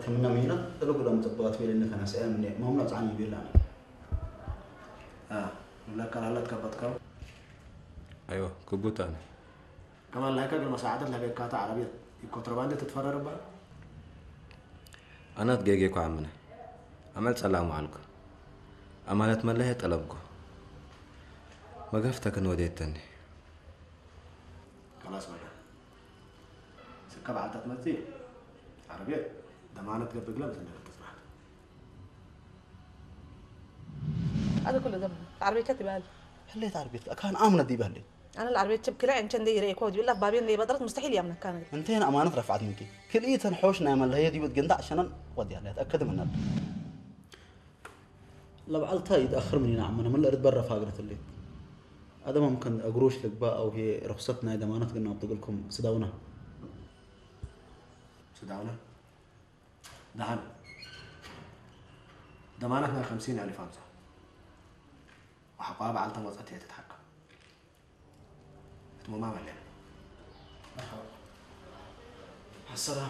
ሕክምና ምሂና ጥልጉሎም ጽቡቓት ቤለኒ ከናሰያ ምነ ማምና ጻኒ ቤላና ንብለካ ላላት ከበጥካው ኣይወ ክቡት ኣነ ከማን ላይካ ግን መሳዓተት ለቤካታ ዓረብየት ኮንትሮባንድ ትትፈረርባ ኣናት ገጌ ኳ ኣምነ ኣመል ጸላሙ ኣልኩ ኣማለት መለየ ጠለብኩ መጋፍተክን ወዴተኒ ከላስ በቃ ስከ በዓልታ ትመጽእ ዓረብየት ደማነት ገብግላ ብዘነበል ትጽናሕ هذا كله ذنب العربية كتب قال حليت عربيتك كان امنه دي بهلي انا العربيه تشب كلا عشان دي ريكو دي بالله بابين لي بدرت مستحيل يامنك كان انتهينا امانه رفعت منك كل ايتن حوش نعمل هي دي بتقندع عشان ودي عليها اتاكد منها ለብዓልታ ይትኣኽር ምን ኢና ዓመና መለእ ርትበር ረፋግረት እሌት ኣደማም ከን እግሮሽ ልግባ ኣው ሄ ርኽሰት ናይ ደማነት ግን ኣብ ትግልኩም ስዳውና ስዳውና ደሓን ደማነት ናይ ከምሲን ኣሊፍ ኣምሳ ወሓቋ በዓልታ መፀት እየ ትትሓከም እትሞማ መለያ ሓሰራ